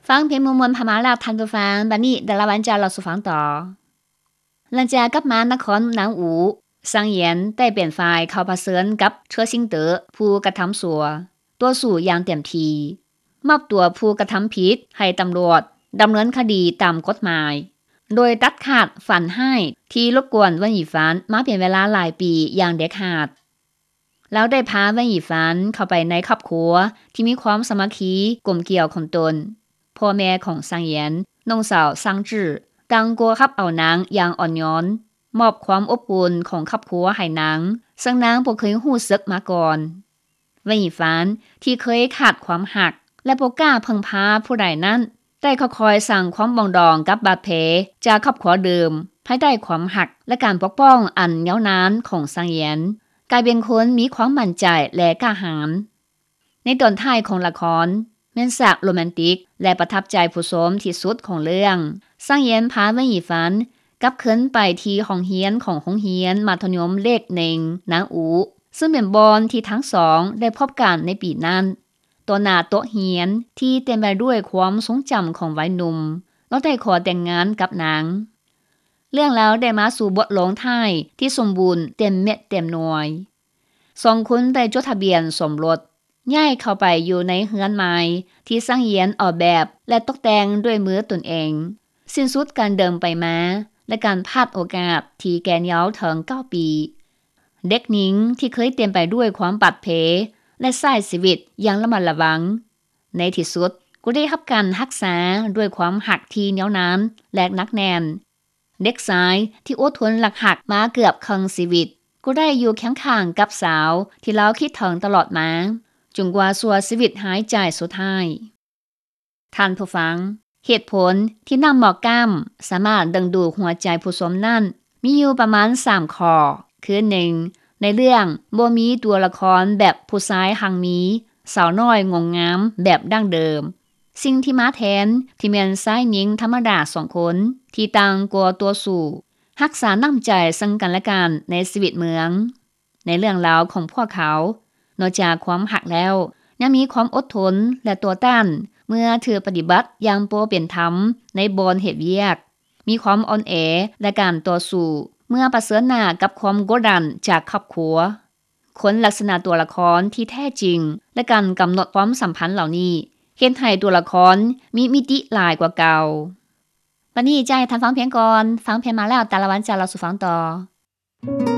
ຟັງເພງມ່ວນໆຜ່ານມາແລ້ວທ່ານຜູ້ຟັງ, ບັດນີ້ດາລາວັນຈະເລົ່າສູ່ຟັງຕໍ່. ຫຼັງຈາກກັບມານະຄອນໜາງອູ, ຊາງຢຽນໄດ້ເປັນຝ່າຍເຂົ້າປະເຊີນກັບເຊີຊິງເຕີຜູ້ກະທຳຊົ່ວ, ຕໍ່ສູ້ຢ່າງເຕັມທີ່, ມອບຕົວຜູ້ກະທຳຜິດໃຫ້ຕຳຫຼວດດຳເນີນຄະດີຕາມກົດໝາຍ, ໂດຍຕັດຂາດຝັນຮ້າຍທີ່ລົບກວນເວິນອີ່ຟານມາເປັນເວລາຫຼາຍປີຢ່າງເດັດຂາດ. ລາວໄດ້ພາເວັນອີ່ຟານເຂົ້າໄປໃນຄອບຄົວທີ່ມີຄວາມສາມັກຄີກົມກຽວຂອງຕົນ, ພໍ່ແມ່ຂອງຊາງຢຽນ, ນ້ອງສາວຊາງຈື່ ຕ່າງກໍຮັບເອົານາງຢ່າງອ່ອນໂຍນ, ມອບຄວາມອົບອຸ່ນຂອງຄອບຄົວໃຫ້ນາງ, ເຊິ່ງນາງບໍ່ເຄີຍຮູ້ສຶກມາກ່ອນ. ເວັນອີ່ຟານທີ່ເຄີຍຂາດຄວາມຮັກ ແລະ ບໍ່ກ້າເພິ່ງພາຜູ້ໃດນັ້ນ, ໄດ້ຄ່ອຍໆສ້າງຄວາມປອງດອງກັບບາດແຜຈາກຄອບຄົວເດີມ, ພາຍໃຕ້ຄວາມຮັກ ແລະ ການປົກປ້ອງອັນຍາວນານຂອງຊາງຢຽນ, ກາຍເປັນຄົນມີຄວາມໝັ້ນໃຈ ແລະ ກ້າຫານ. ໃນຕອນທ້າຍຂອງລະຄອນ, ແມ່ນສາກໂຣແມນຕິກ ແລະ ປະທັບໃຈຜູ້ຊົມທີ່ສຸດຂອງເລື່ອງ. ຊາງຢຽນພາເວັນອີ່ຟານກັບຄືນໄປທີ່ຫ້ອງຮຽນຂອງໂຮງຮຽນມັດທະຍົມເລກໜຶ່ງນາງອູ, ເຊິ່ງເປັນບ່ອນທີ່ທັງສອງໄດ້ພົບກັນໃນປີນັ້ນ. ຕໍ່ໜ້າໂຕະຮຽນທີ່ເຕັມໄປດ້ວຍຄວາມຊົງຈຳຂອງໄວໜຸ່ມ, ລາວໄດ້ຂໍແຕ່ງງານກັບນາງ. ເລື່ອງລາວໄດ້ມາສູ່ບົດລົງທ້າຍທີ່ສົມບູນເຕັມເມັດເຕັມໜ່ວຍ. ສອງຄົນໄດ້ຈົດທະບຽນສົມລົດ, ຍ້າຍເຂົ້າໄປຢູ່ໃນເຮືອນໃໝ່ທີ່ຊາງຢຽນອອກແບບ ແລະ ຕົກແຕ່ງດ້ວຍມືຕົນເອງ, ສິ້ນສຸດການເດີນໄປມາ ແລະ ການພາດໂອກາດທີ່ແກ່ນຍາວເຖິງເກົ້າປີ. ເດັກຍິງທີ່ເຄີຍເຕັມໄປດ້ວຍຄວາມບາດເພ ແລະ ໃຊ້ຊີວິດຢ່າງລະມັດລະວັງ, ໃນທີ່ສຸດກໍໄດ້ຮັບການຮັກສາດ້ວຍຄວາມຮັກທີ່ໜຽວໜັນ ແລະ ໜັກແໜ້ນ. ເດັກຊາຍທີ່ອົດທົນລັກຮັກມາເກືອບເຄິ່ງຊີວິດ, ກໍໄດ້ຢູ່ຄຽງຂ້າງກັບສາວທີ່ລາວຄິດເຖິງຕະຫຼອດມາ, ຈົນກວ່າຊົ່ວຊີວິດຫາຍໃຈສຸດທ້າຍ. ທ່ານຜູ້ຟັງ, ເຫດຜົນທີ່ນ້ຳໝອກກ້ຳສາມາດດຶງດູດຫົວໃຈຜູ້ຊົມນັ້ນ ມີຢູ່ປະມານສາມຂໍ້, ຄື ໜຶ່ງ, ໃນເລື່ອງບໍ່ມີຕົວລະຄອນແບບຜູ້ຊາຍຮັ່ງມີ, ສາວນ້ອຍງົງງາມແບບດັ້ງເດີມ. ສິ່ງທີ່ມາແທນ ທີ່ແມ່ນຊາຍຍິງທຳມະດາສອງຄົນທີ່ຕ່າງກໍຕໍ່ສູ້, ຮັກສານ້ຳໃຈເຊິ່ງກັນແລະກັນໃນຊີວິດເມືອງ. ໃນເລື່ອງລາວຂອງພວກເຂົາ, ນອກຈາກຄວາມຮັກແລ້ວ, ຍັງມີຄວາມອົດທົນ ແລະ ຕໍ່ຕ້ານເມື່ອຖືກປະຕິບັດຢ່າງບໍ່ເປັນທຳໃນບ່ອນເຮັດວຽກ, ມີຄວາມອ່ອນແອ ແລະ ການຕໍ່ສູ້ເມື່ອປະເຊີນໜ້າກັບຄວາມກົດດັນຈາກຄອບຄົວ. ຄົນລັກສະນະຕົວລະຄອນທີ່ແທ້ຈິງ ແລະ ການກຳນົດຄວາມສຳພັນເຫຼົ່ານີ້ ເຮັດໃຫ້ຕົວລະຄອນມີມິຕິຫຼາຍກວ່າເກົ່າ. ບັດນີ້ຈະໃຫ້ທ່ານຟັງເພງກ່ອນ, ຟັງເພງມາແລ້ວ ຕາລະວັນຈະເລົ່າສູ່ຟັງຕໍ່.